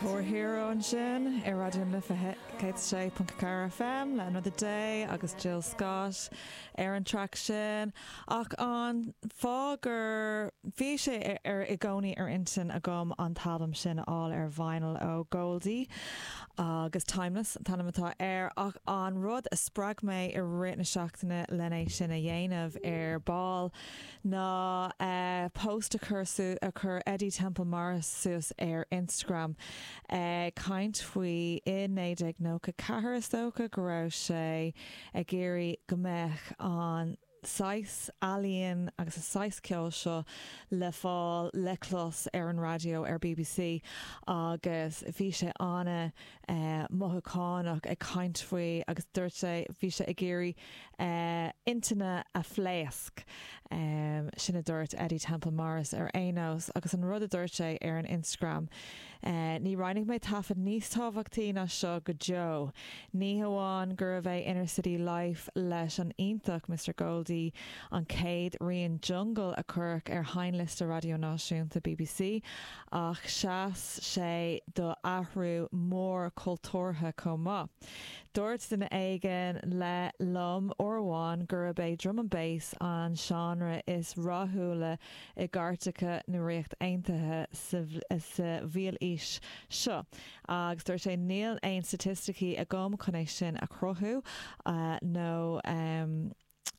Poor Hero ansin ar Raidió na Life 106.4 FM le Another Day agus Jill Scott ar an traic sin. Ach an fáth gur bhí sé ar i gcónaí ar intinn agam an t-albam sin a fháil ar vinyl ó Goldie agus Timeless an t-ainm atá air ach an rud a spreag mé i rith na seachtaine len é sin a dhéanamh ar ball ná post a chuir a chuir Eddie Temple Morris suas ar Instagram ag caint faoi i 1994 is dócha go raibh sé ag iarraidh go mbeadh an saghas ealaíon agus an saghas ceoil seo le fáil le clos ar an raidió ar bbc agus bhí sé ana mothúchánach ag caint faoi agus dúirt sé bhí sé ag iarraidh intinne a phléasc. Sin a dúirt Eddie Temple Morris ar aon nós agus an rud a dúirt sé ar an Instagram, Ní roinnfidh mé taifead níos tábhachtaí ná seo go deo. Ní hamháin gurbh é Inner City Life leis an iontach Mister Goldie an chéad rian jungle a cuireadh ar sheinnliosta raidió náisiúnta bbc ach sheas sé do athrú mór cultúrtha chomh maith. Dúirt duine éigin le liom uair amháin gurb é drum and bass an seánra is rathúla i gcairteacha na Ríochta Aontaithe sa mhílaois seo agus dúirt sé níl aon staitisticí agam chun é sin a chruthú nó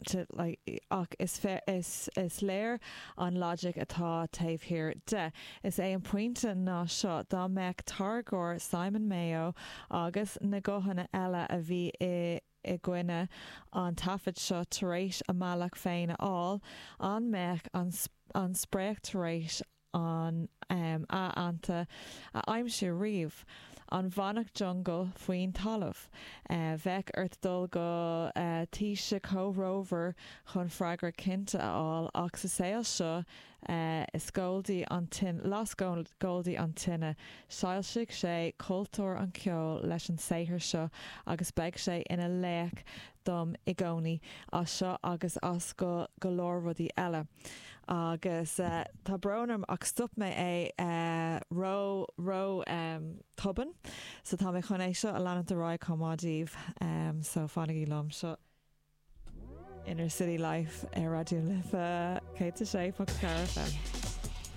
to like ach is is is léir an logic atá taobh thiar de. Is é an pointe ná seo, dá mbeadh táirgeoir Simon Mayo agus na guthanna eile a bhí i i gcoinne an taifid seo tar éis a mbealach féin a fháil, an mbeadh an an spréach tar éis an adhanta a aimsiú riamh. An bhfanfadh jungle faoin talamh? Bheadh ort dul go taoiseach comhthreomhar chun freagra cinnte a fháil, ach sa saol seo is Goldie an tine, las Goldie an tine, shoilsigh sé cultúr an cheoil leis an saothar seo agus beidh sé ina laoch dom i gcónaí, as seo agus as go go leor rudaí eile. Agus tá brón orm ach stop mé é ró, ró tobann. So tá mé chun é seo a leanúint ar aghaidh chomh maith daoibh. So fanaigí liom. Seo Inner City Life ar Raidió na Life 106.4 FM.